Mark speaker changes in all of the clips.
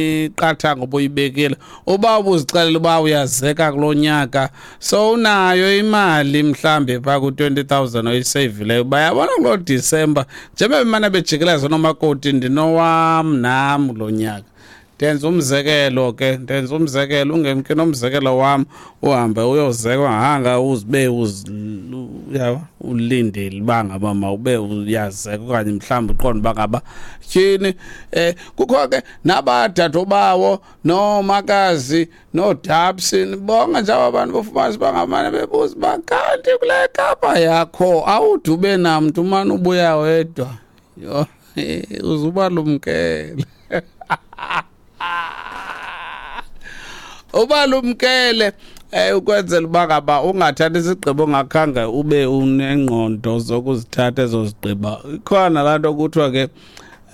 Speaker 1: Imiqathango obuyibekile, uba ubuzixelela uba uyazeka kulo nyaka, so unayo imali mhlambi phaa ku-20,000 oyiseyivileyo, bayabona kuloo Disemba njengoba bemane bejikeleza noomakoti, ndinowam nam kulo nyaka. Ndenza umzekelo ke, ndenza umzekelo, ungemki nomzekelo wam, uhambe uyozekwa hanga uzibe uyabo, ulindele uba ngaba mawube uyazeka okanye mhlawumbi uqonde uba ngaba tyhini. Kukho ke nabadadobawo noomakazi noodapsi, bonke nje aba bantu bofumanisa uba ngamane bebuza uba kanti kule Kapa yakho awude ube namntu, umane ubuya wedwa. Yho, uzubalumkele, ubalumkele ukwenzela uba ngaba ungathathi isigqibo ongakhange ube unengqondo zokuzithatha ezo zigqiba. Ikhona laa nto kuthiwa ke,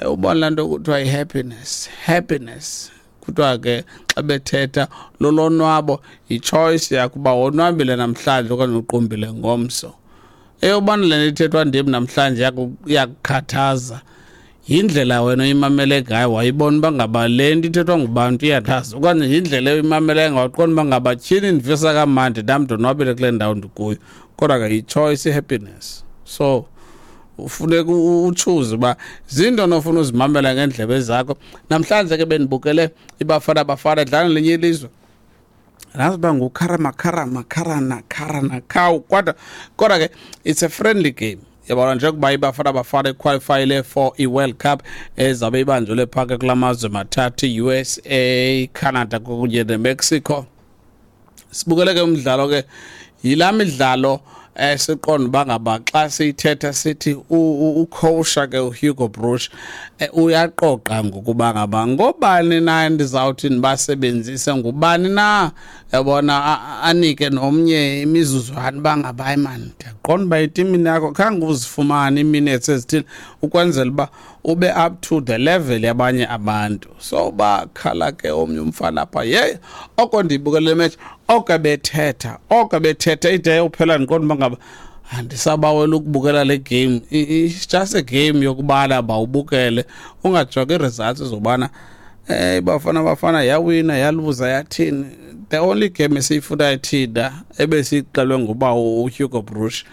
Speaker 1: ubona laa nto kuthiwa yi-happiness, happiness kuthiwa ke xa bethetha lolonwabo, yi-choice yakho uba wonwabile namhlanje okanye uqumbile ngomso. Eyobana le nto ithethwa ndim namhlanje iyakukhathaza, yindlela wena oyimamele ngayo, wayibona uba ngaba le nto ithethwa ngubantu iyathaza, okanye yindlela oyimamele ngayo waqonda uba ngaba tyhini ndivisa kamandi nam, ndonwabile kule ndawo ndikuyo. Kodwa ke yi-choice i-happiness, so ufuneka utshuze uba zinto nofuna uzimamela ngeendlebe zakho. Namhlanje ke bendibukele iBafana Bafana idlala nelinye ilizwe, lazi uba ngukharama kharama kharana kharana khawu, kodwa ke it's a friendly game, yabona, njengokuba iBafana Bafana iqualifyile for i-World Cup ezabe ibanjelwe phaa ke kula mazwe mathathu, i-USA, Canada kunye neMexico. Sibukele ke umdlalo ke, yilaa midlalo siqonda uba ngaba xa siyithetha sithi ucoacha ke uHugo Broos uyaqoqa ngokuba ngaba ngobani na ndizawuthi ndibasebenzise, ngubani na, yabona, anike nomnye imizuzwana uba ngaba hayi mani, ndiyaqonda uba etimini yakho khange uzifumane ii-minutes ezithile ukwenzela uba ube up to the level yabanye abantu. So bakhala ke omnye umfana apha, yeyi, oko ndiyibukele le match, oko bethetha ide yophela, ndiqonda uba ngaba andisabawela ukubukela le game. It's just a game yokubana bawubukele, ungajongi ii-results zobana Bafana Bafana yawina, yaluza, yathini. The only game esiyifunayo thina ebesiyixelwe nguba uHugo Broos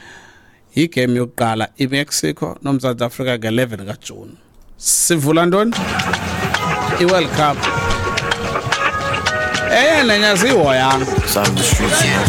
Speaker 1: yigame yokuqala, iMexico noMzantsi Afrika, nge-11 kaJuni. Sivula ntoni? I-World Cup. Enye nenye aziyihoyanga.
Speaker 2: Sound the streets, you know.